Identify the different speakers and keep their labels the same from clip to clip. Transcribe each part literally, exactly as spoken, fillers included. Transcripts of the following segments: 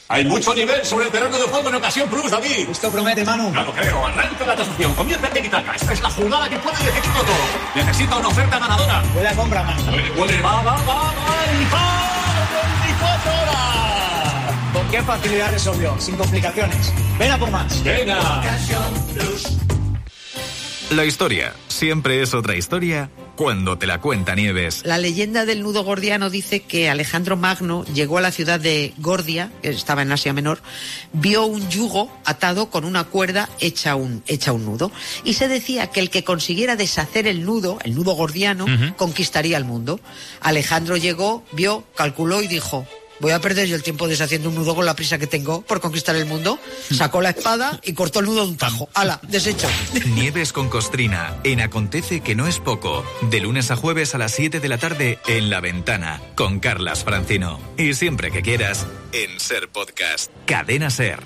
Speaker 1: Hay mucho nivel sobre el terreno de juego en Ocasión Plus, David.
Speaker 2: Esto promete, Manu.
Speaker 1: Ya lo creo. Arranca la transacción. Comienza el tiki-taka. Esta es la jugada que puede decidirlo todo. Necesita una oferta ganadora.
Speaker 2: Buena compra, Manu.
Speaker 1: Puede, puede. Va, va, va, va. Y va. veinticuatro horas.
Speaker 2: ¿Con qué facilidad resolvió? Sin complicaciones. Ven a por más.
Speaker 1: Venga.
Speaker 2: Ocasión Plus.
Speaker 3: La historia siempre es otra historia cuando te la cuenta Nieves.
Speaker 4: La leyenda del nudo gordiano dice que Alejandro Magno llegó a la ciudad de Gordia, que estaba en Asia Menor, vio un yugo atado con una cuerda hecha un, hecha un nudo. Y se decía que el que consiguiera deshacer el nudo, el nudo gordiano, uh-huh. conquistaría el mundo. Alejandro llegó, vio, calculó y dijo: voy a perder yo el tiempo deshaciendo un nudo con la prisa que tengo por conquistar el mundo. Sacó la espada y cortó el nudo de un tajo. ¡Hala! Deshecho.
Speaker 3: Nieves con Costrina, en Acontece que no es poco. De lunes a jueves a las siete de la tarde en La Ventana, con Carlas Francino. Y siempre que quieras, en Ser Podcast. Cadena Ser.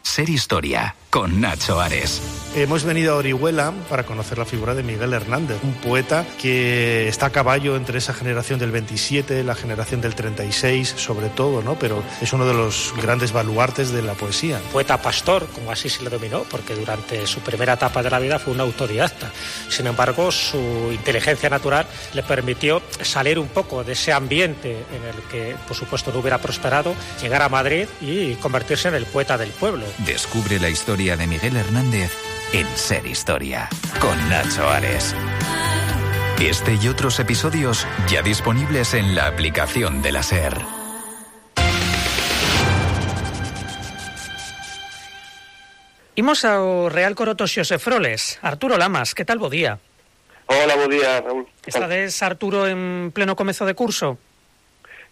Speaker 3: Ser Historia, con Nacho Ares.
Speaker 5: Hemos venido a Orihuela para conocer la figura de Miguel Hernández, un poeta que está a caballo entre esa generación del veintisiete, la generación del treinta y seis, sobre todo, ¿no? Pero es uno de los grandes baluartes de la poesía.
Speaker 6: Poeta pastor, como así se le dominó, porque durante su primera etapa de la vida fue un autodidacta. Sin embargo, su inteligencia natural le permitió salir un poco de ese ambiente en el que, por supuesto, no hubiera prosperado, llegar a Madrid y convertirse en el poeta del pueblo.
Speaker 3: Descubre la historia de Miguel Hernández en Ser Historia, con Nacho Ares. Este y otros episodios ya disponibles en la aplicación de la Ser.
Speaker 7: Imos ao Real Coroto Xosé Froles. Arturo Lamas, que tal bo día?
Speaker 8: Hola, bo día, Raúl.
Speaker 7: Estades, Arturo, en pleno comezo de curso?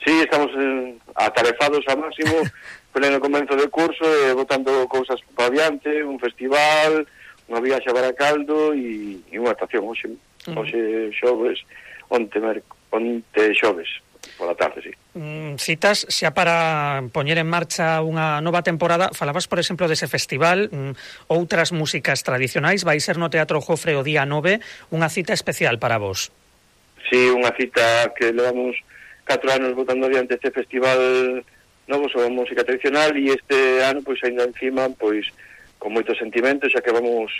Speaker 8: Sí, estamos eh, atarefados ao máximo, pleno comezo de curso, eh, botando cousas para adiante, un festival, unha viaxe a Baracaldo e, e unha estación hoxe, mm. hoxe xoves, onte, merc, onte xoves, pola tarde, sí.
Speaker 7: Mm, citas xa para poñer en marcha unha nova temporada. Falabas, por exemplo, dese festival, mm, outras músicas tradicionais. Vai ser no Teatro Jofre o día nove, unha cita especial para vos.
Speaker 8: Sí, unha cita que levamos catro anos botando adiante este festival novo sobre música tradicional, e este ano, pois, ainda encima, pois, con moito sentimento, xa que vamos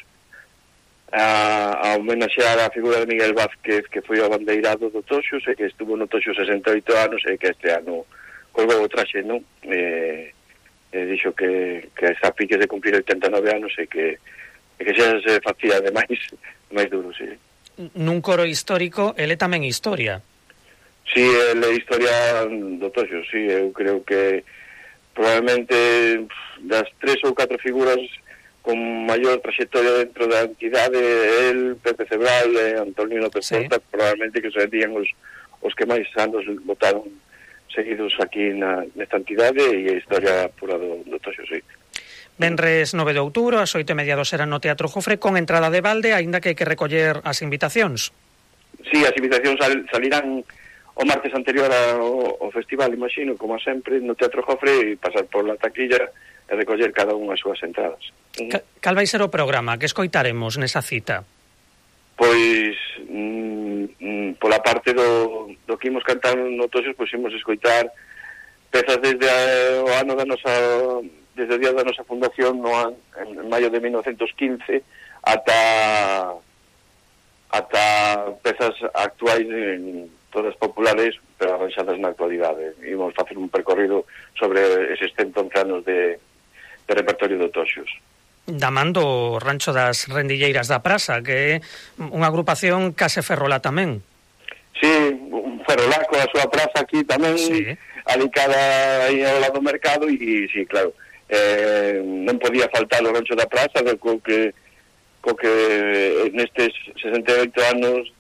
Speaker 8: a, a homenaxear a figura de Miguel Vázquez, que foi o abandeirado do Toxos, e que estuvo no Toxos sesenta e oito anos, e que este ano colgou o traxe, non? E, e dixo que, que está a piques de cumplir oitenta e nove anos, e que, e que xa se facía de máis, máis duro, sí.
Speaker 7: Nun coro histórico, ele tamén historia.
Speaker 8: Sí, ele é historia do Toxos, sí, eu creo que probablemente das tres ou catro figuras con maior trayectoria dentro da entidade, el, Pepe Cebral e Antonio López Porta, sí. Probablemente que serían os, os que máis anos votaron seguidos aquí na, nesta entidade, e a historia pura do, do Toxos, sí.
Speaker 7: Venres nove de outubro, as oito e media do serán no Teatro Jofre, con entrada de balde, aínda que hai que recoller as invitacións.
Speaker 8: Sí, as invitacións sal, salirán o martes anterior ao, ao festival, imagino, como sempre, no Teatro Jofre, e pasar por la taquilla e recoller cada unha as súas entradas.
Speaker 7: Ca, cal vai ser o programa? Que escoitaremos nesa cita?
Speaker 8: Pois, mm, pola parte do, do que imos cantar no Toxos, pois imos escoitar pezas desde a, o ano da nosa, desde o día da nosa fundación, no an, en, en maio de mil novecientos quince, ata ata pezas actuais en todas populares, pero arranxadas na actualidade. Imos facer un percorrido sobre eses cento once anos de, de repertorio do Toxos.
Speaker 7: Damando o Rancho das Rendilleiras da Praza, que é unha agrupación case ferrolá tamén.
Speaker 8: Sí, un ferrolá coa súa praza aquí tamén, sí. Alicada aí ao lado do mercado, e sí, claro, eh, non podía faltar o Rancho da Praza, co que, co que nestes sesenta e oito anos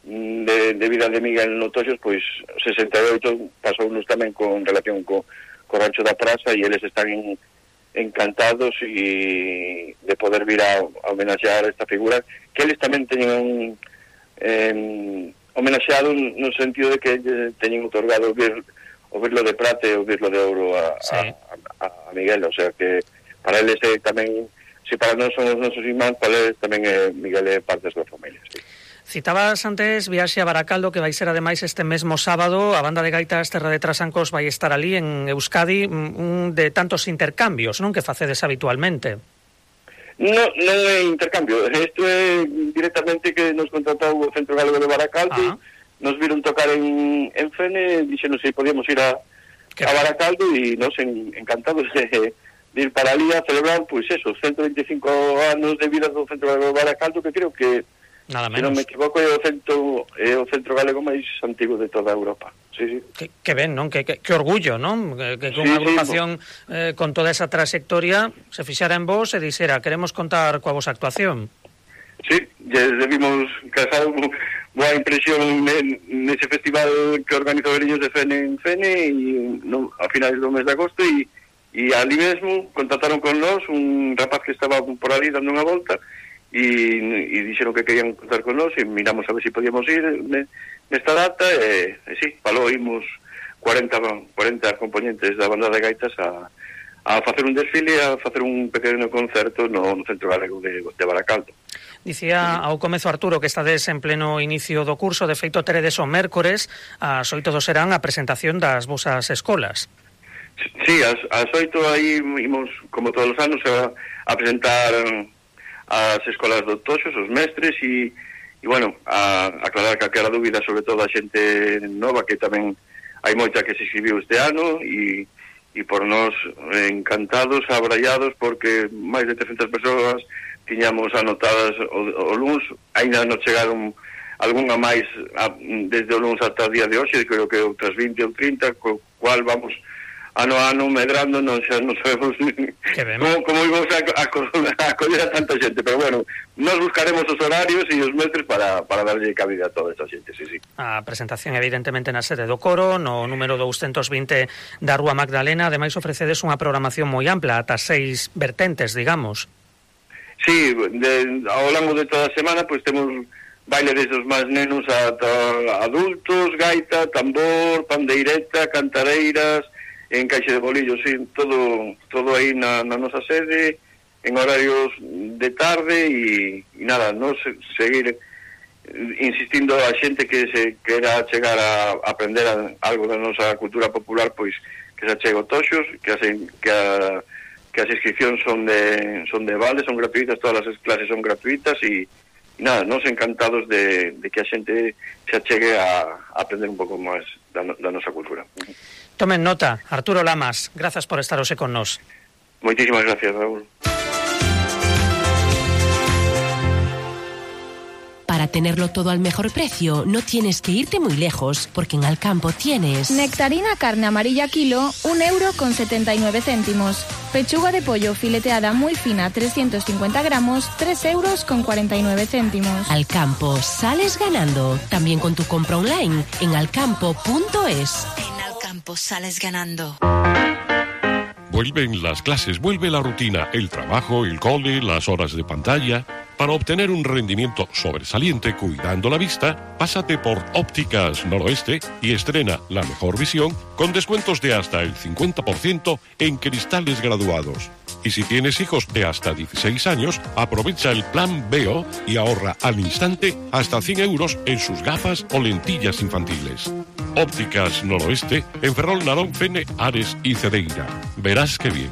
Speaker 8: De, de vida de Miguel no Toxos, pois sesenta e oito pasounos tamén con relación co, co Rancho da Praza, e eles están en, encantados e de poder vir a, a homenaxear esta figura, que eles tamén teñen eh, homenaxeado no sentido de que teñen otorgado o, vir, o virlo de prata e o virlo de ouro a, sí. a, a, a Miguel, o sea que para eles é tamén, se para nós son os nosos irmáns, para eles tamén é Miguel é parte da súa familia, sí.
Speaker 7: Citabas antes viaxe a Baracaldo, que vai ser ademais este mesmo sábado. A banda de gaitas Terra de Trasancos vai estar ali en Euskadi, un de tantos intercambios, non, que facedes habitualmente.
Speaker 8: No, non é intercambio, isto é directamente que nos contratou o Centro Galego de Baracaldo. Ah. Nos viron tocar en, en Fene, dixenos se podíamos ir a, a Baracaldo e nos en, encantados de, de ir para ali a celebrar, pois pues eso, ciento veinticinco anos de vida do Centro Galego de Baracaldo, que creo que,
Speaker 7: nada menos,
Speaker 8: se non me equivoco, é o centro, é o centro galego máis antigo de toda Europa. Sí, sí.
Speaker 7: Que, que ben, non? Que, que, que orgullo, non? Que, que con sí, unha agrupación sí, eh, con toda esa trayectoria se fixara en vos e dixera, queremos contar coa vosa actuación.
Speaker 8: Sí, ya debimos casar boa impresión nese festival que organizou Veriños de Fene en Fene e no, a finales do mes de agosto e, e ali mesmo contactaron con nós un rapaz que estaba por ali dando unha volta e, e dixeron que querían contar con nós e miramos a ver se si podíamos ir nesta data e, e sí, falou, imos cuarenta, cuarenta componentes da banda de gaitas a, a facer un desfile, a facer un pequeno concerto no, no Centro Galego de, de Baracaldo.
Speaker 7: Dicía ao comezo Arturo que estades en pleno inicio do curso, de feito teredes o mércores ás oito do serán a presentación das vosas escolas.
Speaker 8: Sí, ás, ás oito aí imos, como todos os anos, a, a presentar as escolas do Toxos, os mestres e, e bueno, a, a aclarar calquera dúbida, sobre todo a xente nova, que tamén hai moita que se inscribiu este ano e, e por nós encantados, abrallados, porque máis de trescentas persoas tiñamos anotadas o, o luns, ainda non chegaron algunha máis a, desde o luns ata o día de hoxe, creo que outras vinte ou trinta, co cual vamos ano a ano medrando, non xa non sabemos como, como íbamos a, a, a coller a tanta xente, pero bueno, nos buscaremos os horarios e os mestres para, para darlle cabida a toda esta xente, sí, sí.
Speaker 7: A presentación evidentemente na sede do coro, no número doscientos vinte da Rúa Magdalena, ademais ofrecedes unha programación moi ampla, ata seis vertentes, digamos.
Speaker 8: Sí, de, ao longo de toda a semana pois temos baile desde os máis nenos ata adultos, gaita, tambor, pandeireta, cantareiras, encaixe de bolillos, sí, todo todo aí na, na nosa sede, en horarios de tarde e, e nada, nos seguir insistindo a xente que se quera chegar a aprender a, algo da nosa cultura popular, pois que se achega o Toxos, que, hace, que a que as inscripcións son de son de vale, son gratuitas, todas as clases son gratuitas e, e nada, nos encantados de, de que a xente se achegue a, a aprender un pouco máis da, da nosa cultura.
Speaker 7: Tomen nota, Arturo Lamas, grazas por estar hoxe con nós.
Speaker 8: Moitísimas gracias, Raúl.
Speaker 9: Para tenerlo todo al mejor precio, no tienes que irte muy lejos, porque en Alcampo tienes...
Speaker 10: Nectarina carne amarilla kilo, un euro con setenta y nueve céntimos. Pechuga de pollo fileteada muy fina, trescientos cincuenta gramos, tres euros con cuarenta y nueve céntimos.
Speaker 9: Alcampo, sales ganando. También con tu compra online en alcampo punto es.
Speaker 11: En Alcampo sales ganando.
Speaker 12: Vuelven las clases, vuelve la rutina, el trabajo, el cole, las horas de pantalla. Para obtener un rendimiento sobresaliente cuidando la vista, pásate por Ópticas Noroeste y estrena la mejor visión con descuentos de hasta el cincuenta por ciento en cristales graduados. Y si tienes hijos de hasta dieciséis años, aprovecha el plan Veo y ahorra al instante hasta cien euros en sus gafas o lentillas infantiles. Ópticas Noroeste en Ferrol, Narón, Fene, Ares y Cedeira. Verás qué bien.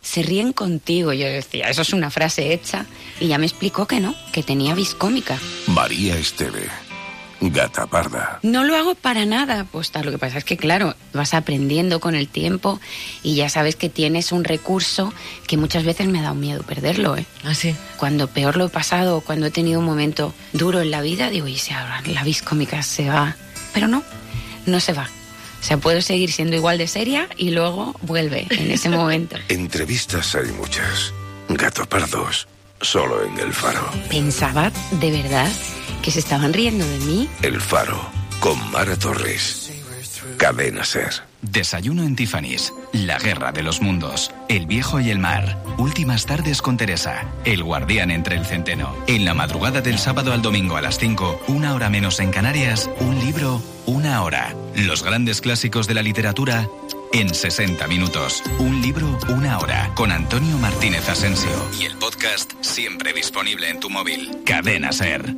Speaker 13: Se ríen contigo, yo decía, eso es una frase hecha, y ya me explicó que no, que tenía vis cómica.
Speaker 14: María Esteve, gata parda.
Speaker 13: No lo hago para nada, pues lo que pasa es que claro, vas aprendiendo con el tiempo y ya sabes que tienes un recurso que muchas veces me ha dado miedo perderlo, ¿eh?
Speaker 4: ¿Ah, sí?
Speaker 13: Cuando peor lo he pasado, cuando he tenido un momento duro en la vida, digo, y si ahora la vis cómica se va, pero no, no se va. O sea, puedo seguir siendo igual de seria y luego vuelve en ese momento.
Speaker 14: Entrevistas hay muchas. Gato pardos, solo en El Faro.
Speaker 13: Pensaba, de verdad, que se estaban riendo de mí.
Speaker 14: El Faro, con Mara Torres. Cadena Ser.
Speaker 3: Desayuno en Tiffany's, La Guerra de los Mundos, El Viejo y el Mar, Últimas Tardes con Teresa, El Guardián entre el Centeno. En la madrugada del sábado al domingo a las cinco, una hora menos en Canarias, un libro, una hora. Los grandes clásicos de la literatura en sesenta minutos. Un libro, una hora, con Antonio Martínez Asensio. Y el podcast siempre disponible en tu móvil. Cadena SER.